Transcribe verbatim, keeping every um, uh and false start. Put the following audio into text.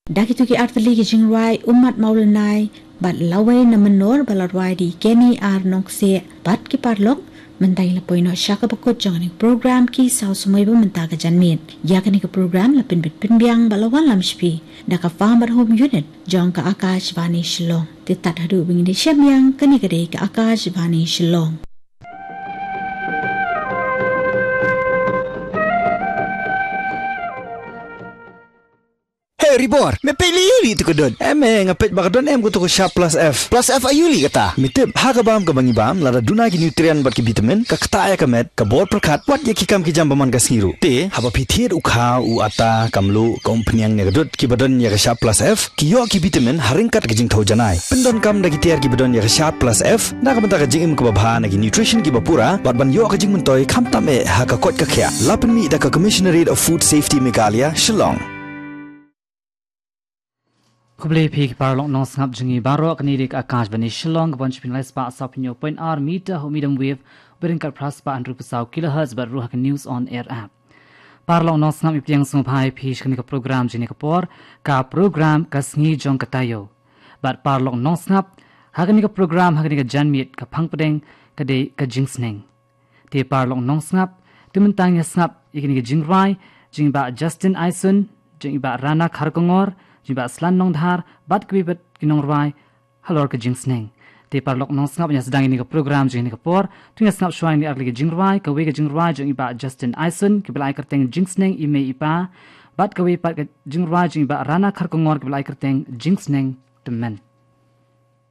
Da kito ki artylli ki jingrwai, Ummat Mawlynnai bad Lawei Namynor, ba la rwai da i Kenny R Nongkseh bad ki paralok, mynta ngi la poi noh sha kaba kut jong kane ka program Ki Saw Samoi ba mynta ka janmiet. Ïa kane ka program la pynbit pynbiang bad la wanlam sha phi da ka Farm at Home Unit jong ka Akashvani Shillong. Te tad haduh ba ngin ïashem biang, kane ka dei ka Akashvani Shillong. Hey, Ribor, me peit lei ïa u lei tu ka dud. Em, eh, nga peit ba ka don em ka tu ka Sharp Plus F. Plus F aïu lei kata? Me tip, ha ka bam kaba ngi bam, lada duna ki nutrient bad ki vitamin, ka ktah ïa ka met, ka bor pyrkhat, wat ïa ki kam ki jam ba man ka sngi ruh. Te, haba phi thied u khaw, u atta, ka mluh, ka umphniang ne ka dud, kiba don ïa ka Sharp Plus F, ki ïoh ki vitamin, ha ryngkat ka jingthew janai. Pyndonkam da ki tiar kiba don ïa ka Sharp Plus F, na ka bynta ka jingim kaba bha na ki nutrition kiba pura, bad ban ïoh ka jingmyntoi, khamtam eh, ha ka koit ka khiah. La pynmih da ka Commissionerate of Food Safety Meghalaya, Shillong. Khublei phi ki paralok nongsngap jong ngi baroh, kane dei ka Akashvani Shillong, ka bun sha phi na lai spah saw phew point ar meter ha u medium wave, bad ryngkat phra spah hynriew phew saw kilohertz, bad ruh ha ka News on Air app. Paralok nongsngap, ngi pdiang sngewbha ïa phi sha kane ka program jong kane ka por, ka program Ka Sngi Jong Ka Taïew. Bad paralok nongsngap, ha kane ka program, ha kane ka janmiet, ka phang pdeng ka dei ka jingsneng. Te paralok nongsngap, te mynta ngin ïa sngap ïa kine ki jingrwai jong i Bah Justin Aison, jong i Bah Rana Kharkongor, jong i Bah Slan Nongdhar, bad kiwei pat ki nongrwai halor ka jingsneng. Te paralok nongsngap, ban ïa sdang ïa kane ka program jong kane ka por, to ngin ïa sngap shuwa ïa kine artylli ki jingrwai, kawei ka jingrwai jong i Bah Justin Aison, kaba la ai kyrteng Jingsneng I Mei I Pa, bad kawei pat ka jingrwai jong i Bah Rana Kharkongor, kaba la ai kyrteng Jingsneng Tymmen.